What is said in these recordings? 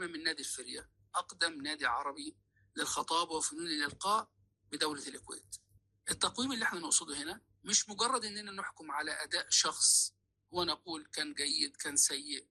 قائمة من نادي الفرية، أقدم نادي عربي للخطابة وفنون الإلقاء بدولة الكويت. التقويم اللي احنا نقصده هنا مش مجرد اننا نحكم على أداء شخص ونقول كان جيد كان سيء،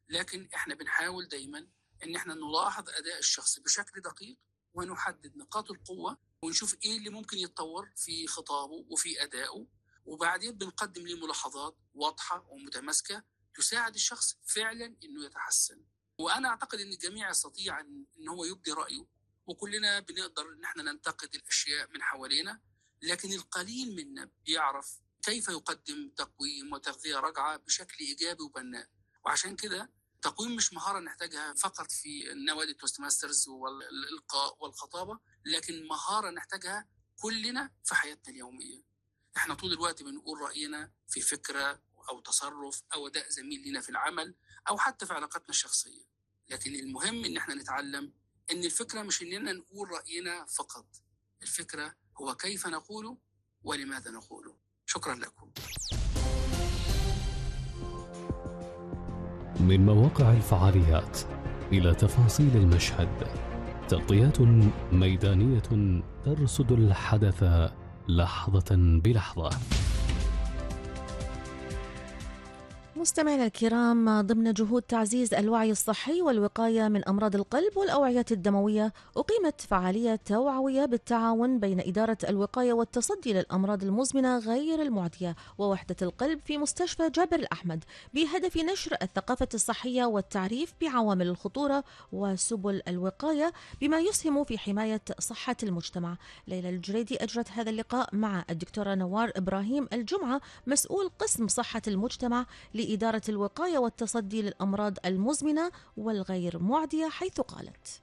لكن احنا بنحاول دايما ان احنا نلاحظ أداء الشخص بشكل دقيق ونحدد نقاط القوة ونشوف ايه اللي ممكن يتطور في خطابه وفي أدائه، وبعدين بنقدم له ملاحظات واضحة ومتماسكة تساعد الشخص فعلا انه يتحسن. وانا اعتقد ان الجميع يستطيع ان هو يبدي رأيه، وكلنا بنقدر ان احنا ننتقد الاشياء من حوالينا، لكن القليل منا بيعرف كيف يقدم تقويم وتغذية رجعة بشكل إيجابي وبناء. وعشان كده تقويم مش مهارة نحتاجها فقط في نوادي التوست ماسترز والإلقاء والخطابة، لكن مهارة نحتاجها كلنا في حياتنا اليومية. احنا طول الوقت بنقول رأينا في فكرة أو تصرف أو أداء زميل لنا في العمل أو حتى في علاقاتنا الشخصية، لكن المهم إن احنا نتعلم إن الفكرة مش إننا نقول رأينا فقط، الفكرة هو كيف نقوله ولماذا نقوله. شكرا لكم. من مواقع الفعاليات إلى تفاصيل المشهد، تغطيات ميدانية ترصد الحدث لحظة بلحظة. مستمعينا الكرام، ضمن جهود تعزيز الوعي الصحي والوقاية من أمراض القلب والأوعية الدموية، أقيمت فعالية توعوية بالتعاون بين إدارة الوقاية والتصدي للأمراض المزمنة غير المعدية ووحدة القلب في مستشفى جابر الأحمد، بهدف نشر الثقافة الصحية والتعريف بعوامل الخطورة وسبل الوقاية بما يسهم في حماية صحة المجتمع. ليلى الجريدي أجرت هذا اللقاء مع الدكتورة نوار إبراهيم الجمعة، مسؤول قسم صحة المجتمع لإدارة الوقاية والتصدي للأمراض المزمنة والغير معدية، حيث قالت: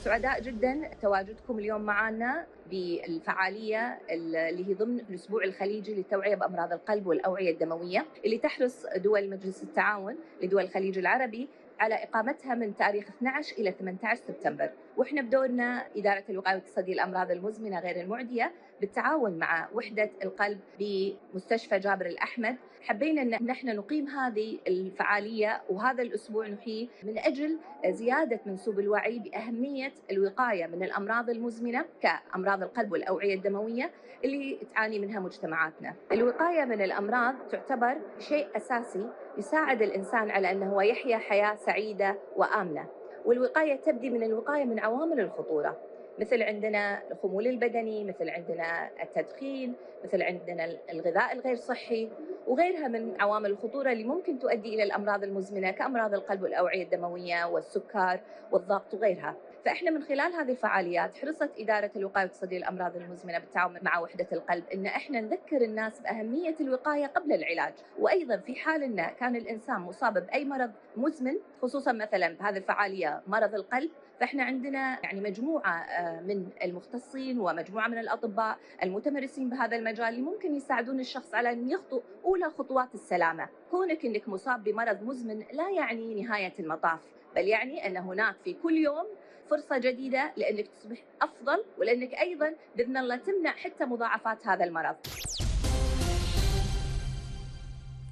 سعداء جدا تواجدكم اليوم معنا بالفعالية اللي هي ضمن الأسبوع الخليجي للتوعية بأمراض القلب والأوعية الدموية، اللي تحرص دول مجلس التعاون لدول الخليج العربي على إقامتها من تاريخ 12 إلى 18 سبتمبر. وإحنا بدورنا إدارة الوقاية والتصدي للأمراض المزمنة غير المعدية بالتعاون مع وحدة القلب بمستشفى جابر الأحمد، حبينا أن نحن نقيم هذه الفعالية وهذا الأسبوع نحييه من أجل زيادة منسوب الوعي بأهمية الوقاية من الأمراض المزمنة كأمراض القلب والأوعية الدموية اللي تعاني منها مجتمعاتنا. الوقاية من الأمراض تعتبر شيء أساسي يساعد الإنسان على أنه يحيا حياة سعيدة وآمنة، والوقاية تبدي من الوقاية من عوامل الخطورة، مثل عندنا الخمول البدني، مثل عندنا التدخين، مثل عندنا الغذاء الغير صحي وغيرها من عوامل الخطورة اللي ممكن تؤدي إلى الأمراض المزمنة كأمراض القلب والأوعية الدموية والسكر والضغط وغيرها. فإحنا من خلال هذه الفعاليات حرصت إدارة الوقاية والتصدي للأمراض المزمنة بالتعاون مع وحدة القلب إن إحنا نذكر الناس بأهمية الوقاية قبل العلاج، وأيضا في حال إن كان الإنسان مصاب بأي مرض مزمن، خصوصا مثلا بهذه الفعالية مرض القلب، فإحنا عندنا يعني مجموعة من المختصين ومجموعة من الأطباء المتمرسين بهذا المجال اللي ممكن يساعدون الشخص على أن يخطو أولى خطوات السلامة. كونك إنك مصاب بمرض مزمن لا يعني نهاية المطاف، بل يعني أن هناك في كل يوم فرصة جديدة لأنك تصبح أفضل، ولأنك أيضا بإذن الله تمنع حتى مضاعفات هذا المرض.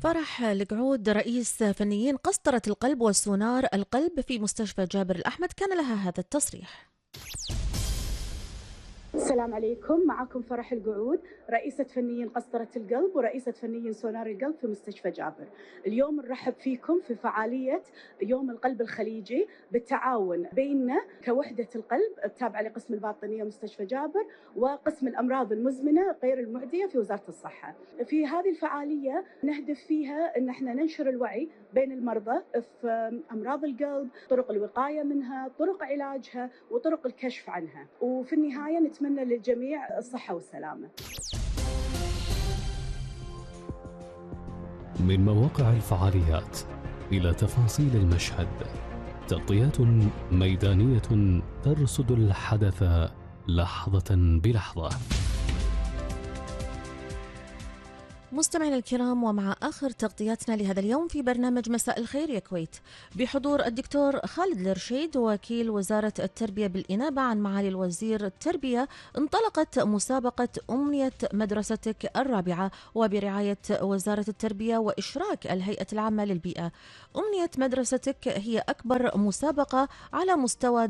فرح القعود رئيس فنيين قسطرة القلب وسونار القلب في مستشفى جابر الأحمد كان لها هذا التصريح. السلام عليكم، معكم فرح القعود رئيسة فنيين قسطرة القلب ورئيسة فنيين سونار القلب في مستشفى جابر. اليوم نرحب فيكم في فعالية يوم القلب الخليجي بالتعاون بيننا كوحدة القلب التابعة لقسم الباطنية مستشفى جابر وقسم الأمراض المزمنة غير المعدية في وزارة الصحة. في هذه الفعالية نهدف فيها أن احنا ننشر الوعي بين المرضى في أمراض القلب، طرق الوقاية منها، طرق علاجها وطرق الكشف عنها، وفي النهاية نتمنى للجميع الصحة والسلامة. من مواقع الفعاليات إلى تفاصيل المشهد، تغطيات ميدانية ترصد الحدث لحظة بلحظة. مستمعينا الكرام، ومع آخر تغطياتنا لهذا اليوم في برنامج مساء الخير يا كويت بحضور الدكتور خالد الرشيد وكيل وزارة التربية بالإنابة عن معالي الوزير التربية، انطلقت مسابقة أمنية مدرستك الرابعة وبرعاية وزارة التربية وإشراك الهيئة العامة للبيئة. أمنية مدرستك هي أكبر مسابقة على مستوى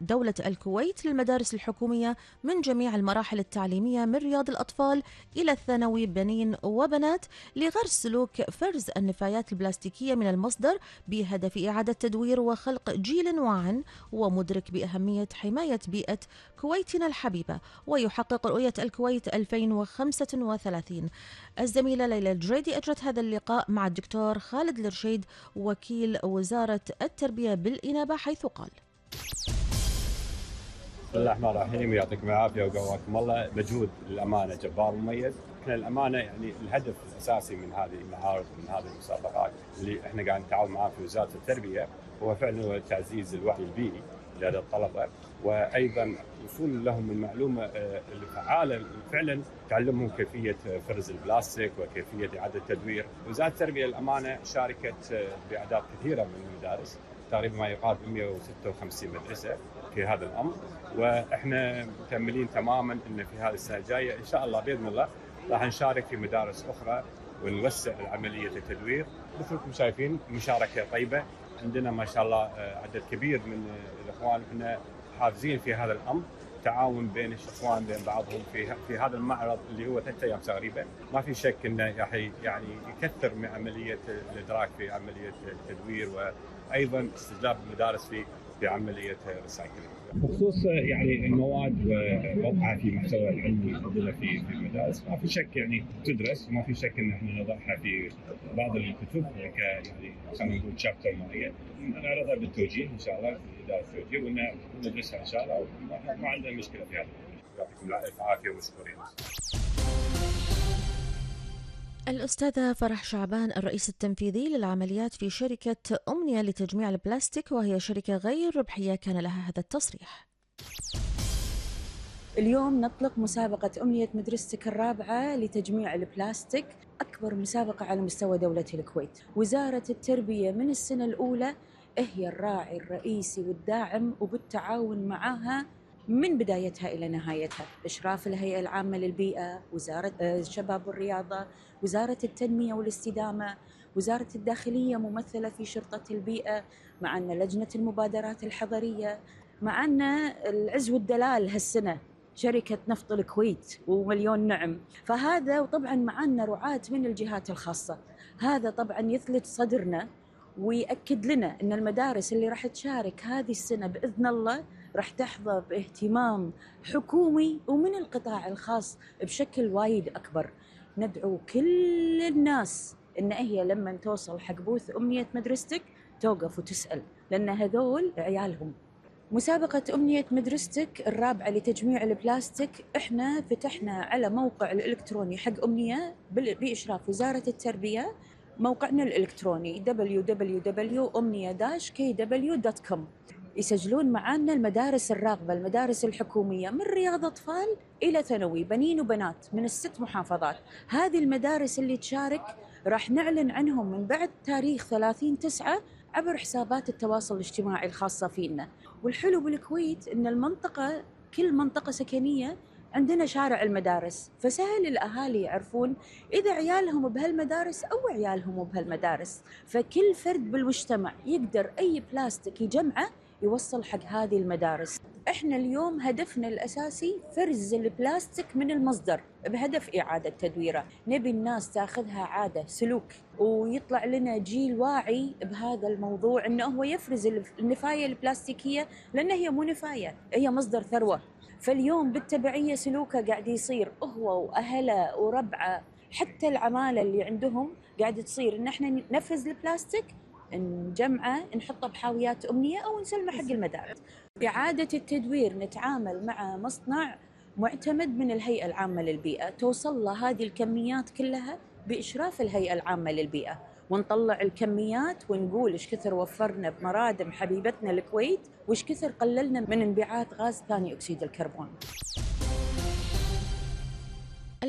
دولة الكويت للمدارس الحكومية من جميع المراحل التعليمية من رياض الأطفال إلى الثانوي بنين وبنات، لغرس سلوك فرز النفايات البلاستيكية من المصدر بهدف إعادة تدوير وخلق جيل واع ومدرك بأهمية حماية بيئة كويتنا الحبيبة ويحقق رؤية الكويت 2035. الزميلة ليلى الجريدي أجرت هذا اللقاء مع الدكتور خالد الرشيد وكيل وزارة التربية بالإنابة، حيث قال: بسم الله الرحمن الرحيم، يعطيكم العافيه وقواكم الله. مجهود للامانه جبار مميز. احنا الامانه يعني الهدف الاساسي من هذه المعارض ومن هذه المسابقات اللي احنا قاعد نتعاون معاه في وزاره التربيه هو فعلا تعزيز الوعي البيئي لدى الطلبه، وايضا وصول لهم المعلومه الفعاله فعلا تعلمهم كيفيه فرز البلاستيك وكيفيه اعاده التدوير. وزاره التربيه الامانه شاركت باعداد كثيره من المدارس، تقريبا ما يقارب 156 مدرسه في هذا الامر، واحنا متاملين تماما ان في هذه السنه الجايه ان شاء الله باذن الله راح نشارك في مدارس اخرى ونوسع عمليه التدوير. مثلكم شايفين مشاركه طيبه، عندنا ما شاء الله عدد كبير من الاخوان، احنا حافزين في هذا الامر، تعاون بين الاخوان بين بعضهم في هذا المعرض اللي هو 3 ايام تقريبا. ما في شك انه راح يعني يكثر من عمليه الادراك في عمليه التدوير، وايضا استجلاب المدارس في عمليه الريسايكلينج. بخصوص يعني المواد ووضعها في محتوى العلمي عندنا في المدارس، ما في شك يعني تدرس، وما في شك ان احنا نضعها في بعض الكتب يعني خلينا نقول شابتر معين، نعرضها بالتوجيه ان شاء الله في اداره التوجيه وندرسها ان شاء الله، ما عندنا مشكله في هذا. يعطيكم العافيه ومشكورين. الأستاذة فرح شعبان الرئيس التنفيذي للعمليات في شركة أمنية لتجميع البلاستيك، وهي شركة غير ربحية، كان لها هذا التصريح: اليوم نطلق مسابقة أمنية مدرستك الرابعة لتجميع البلاستيك، أكبر مسابقة على مستوى دولة الكويت. وزارة التربية من السنة الأولى هي الراعي الرئيسي والداعم، وبالتعاون معها من بدايتها إلى نهايتها، إشراف الهيئة العامة للبيئة، وزارة الشباب والرياضة، وزارة التنمية والاستدامة، وزارة الداخلية ممثلة في شرطة البيئة، معنا لجنة المبادرات الحضرية، معنا العز والدلال هالسنة شركة نفط الكويت ومليون نعم. فهذا وطبعا معنا رعاة من الجهات الخاصة. هذا طبعا يثلج صدرنا ويأكد لنا أن المدارس اللي راح تشارك هذه السنة بإذن الله راح تحظى باهتمام حكومي ومن القطاع الخاص بشكل وايد أكبر. ندعو كل الناس إن هي لما توصل حق بوث أمنية مدرستك توقف وتسأل، لأن هذول عيالهم. مسابقة أمنية مدرستك الرابعة لتجميع البلاستيك، إحنا فتحنا على موقع الإلكتروني حق أمنية بإشراف وزارة التربية، موقعنا الإلكتروني www.omnia-kw.com. يسجلون معنا المدارس الراغبة، المدارس الحكومية من رياض أطفال إلى ثانوي بنين وبنات من ال6 محافظات. هذه المدارس اللي تشارك راح نعلن عنهم من بعد تاريخ 30/9 عبر حسابات التواصل الاجتماعي الخاصة فينا. والحلو بالكويت إن المنطقة كل منطقة سكنية عندنا شارع المدارس، فسهل الأهالي يعرفون إذا عيالهم بهالمدارس أو عيالهم بهالمدارس، فكل فرد بالمجتمع يقدر أي بلاستيك يجمعه يوصل حق هذه المدارس. إحنا اليوم هدفنا الأساسي فرز البلاستيك من المصدر بهدف إعادة تدويره. نبي الناس تاخذها عادة سلوك، ويطلع لنا جيل واعي بهذا الموضوع، إنه هو يفرز النفاية البلاستيكية، لأنها هي مو نفاية، هي مصدر ثروة. فاليوم بالتبعية سلوكه قاعد يصير هو وأهله وربعه، حتى العمالة اللي عندهم قاعد تصير إن إحنا نفرز البلاستيك نجمعه نحطه بحاويات أمنية أو نسلمه حق المدارس. إعادة التدوير نتعامل مع مصنع معتمد من الهيئة العامة للبيئة، توصل له هذه الكميات كلها بإشراف الهيئة العامة للبيئة، ونطلع الكميات ونقول إيش كثر وفرنا بمرادم حبيبتنا الكويت، وإيش كثر قللنا من انبعاث غاز ثاني أكسيد الكربون.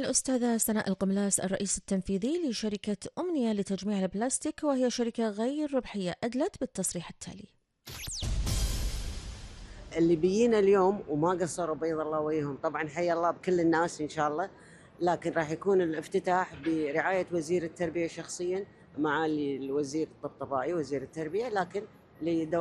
الأستاذة سناء القملاس الرئيس التنفيذي لشركة أمنية لتجميع البلاستيك، وهي شركة غير ربحية، أدلت بالتصريح التالي: اللي بيجينا اليوم وما قصروا بيض الله وجههم، طبعا حيا الله بكل الناس إن شاء الله، لكن راح يكون الافتتاح برعاية وزير التربية شخصيا، معالي الوزير الطبطبائي وزير التربية، لكن لدوائر